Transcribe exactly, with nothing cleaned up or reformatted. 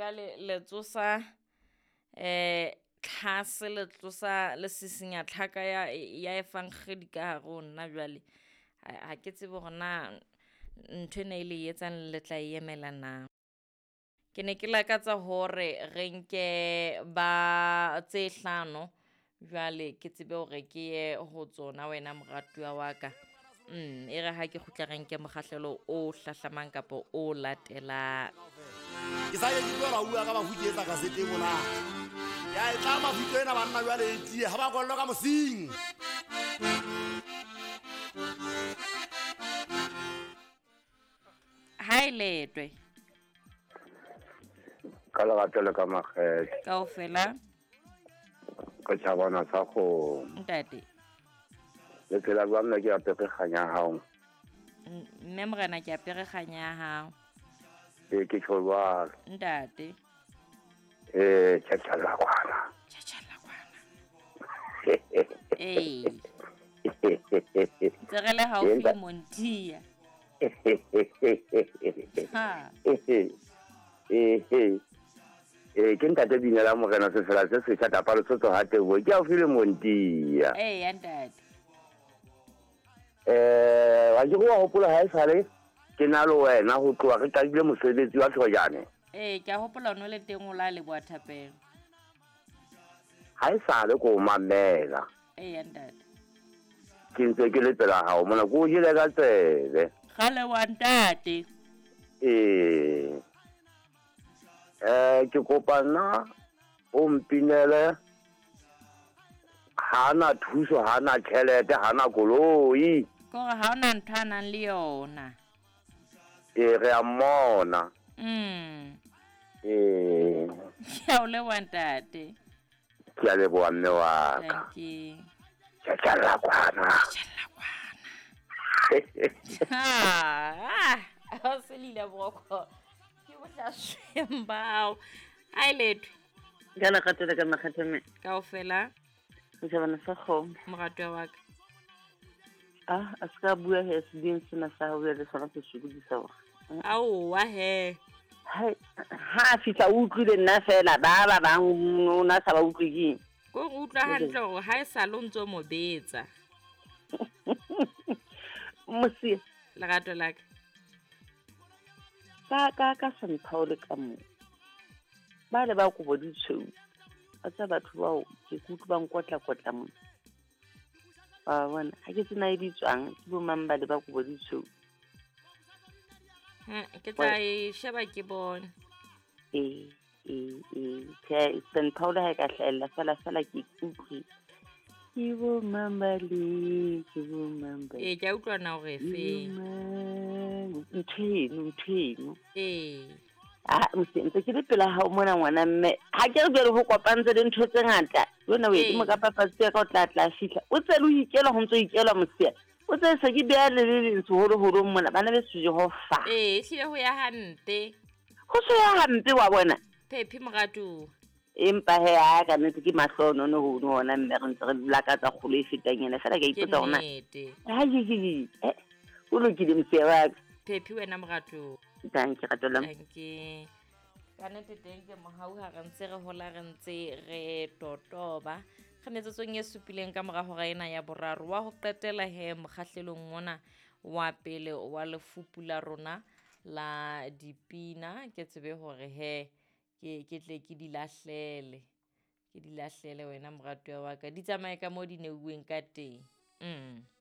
Jwale le tsosa eh tlhase le tlosa le sisinya tlhaka ya ya efankgedi ka hare ho nna jwale. Ha ke tsebe hore na ntho ena e le etsang le tla e emela na. Ke ne ke lakatsa hore re nke ba tse hlano jwale ke tsebe hore ke ye ho tsona wena moratuwa wa ka. Mm, e re ha ke kgutla re nke mokgahlelo o hlahlamang kapa o latelang. Ke sa ye ke tlohela ho bua ka bafu ke etsa kasete mona. Ya e tla mafito ena banna jwale e tiye ha ba kwallwe ka mosing. Ha e letwe. Ka lerato le ka makgethe. Kaofela. Ke tjhabana sa kgomo. Ntate. Le phela jwang mme ke apere kganya ya hao? Mme morena ke apere kganya ya hao. Ee, ke tjho jwalo. Ntate. Ee, tjhatjhalla kwana. Tjhatjhalla kwana. Ee. Ntse re le haufi le Montia. Ha. Ee. Ee, ke ntate Binela morena sefela se setjha tapa Lesotho ha Teboho. Ke haufi le Montia. Ee, ntate. Eh, wa ke wa hopola ha esale ke na le wena ho tloha re qadile mosebetsi wa Tlhojane. Ee, ke a hopola o no le teng o la leboha thapelo. Ha esale ko mamela. Ee, ntate. Ke ntse ke le pela hao mona ko jele ka tsebe. Kgale wa ntate. Ee. Eh, ke kopa nna o mpinele ha na thuso, ha na tjhelete, ha na koloi. Kore ha ona ntho a nang le yona. Ee, re a mmona. Mm. Ee. Ke a o leboha ntate. Ke a leboha mme wa ka. Thank you. Tjhatjhalla kwana. Tjhatjhalla kwana. Ha, ah, o se lile boroko. Ke bohlasweng bao. Ha e letho. Ka lerato le ka makgethe mme. Kaofela. Motjhabana sa kgomo. Moratuwa wa ka. Ah, a se ka bua he sebeng sena sa hao le sona se sokodisa hore. Aowa he. Hai, ha a fihla o utlwile nna fela ba ba bang o na sa ba utlwe keng. Ko re utlwa hantle hore ha e sale o ntso mo betsa. Mosia. Lerato la ka. Ka ka ka Saint Paul ka mo. Ba le ba kobo di tshweu. A tsa batho bao ke kutlwa ba nkotla kotla mo. Wa bona, ha ke tsena e bitswang ke bo mang ba le ba kobo di tshweu. Ha, ke tla e sheba ke bone. Ee, ee, ee, tjhe, Saint Paul ha e ka hlahella fela fela ke utlwe. Ke bo mang ba le, ke bo mang ba. Ee, ke a utlwa na hore efeng. Ntho eno, ntho eno. Ee. Ah, mose ntse ke le pela hao mona ngwana mme. Ha ke re jwale ho kopantse le ntho tse ngata. Lona o Ee. edimo ka papatsi ya ka o tla tla fihla. O tse le o ikela ho ntso ikelwa mosia. O tse se ke beha le le leng seholoholo mona bana beso Jehova. Ee, ehlile ho ya hampe. Ho se ya hampe wa bona. Phephi moratuwa. Empa he a ka nnete ke mahlonono hono hona mme re ntse re lakatsa kgolo e fetang ena fela ke a Ke ipotsa hore na. nnete. Ha ke ke ke. Eh, o lokile mosia wa ka. Phephi wena moratuwa. Thank you, rato la. Thank you. Ka nnete teng ke mohau ha re ntse re hola re ntse re totoba. Re metsotsong e supileng ka mora hora ena ya boraro wa ho qetela he mokgahlelong ona wa pele wa lefupu la rona la dipina. Ke tsebe hore he ke ke tle ke di lahlele. Ke di lahlele wena moratuwa wa ka. Di tsamaye ka moo di neuweng ka teng. Mm.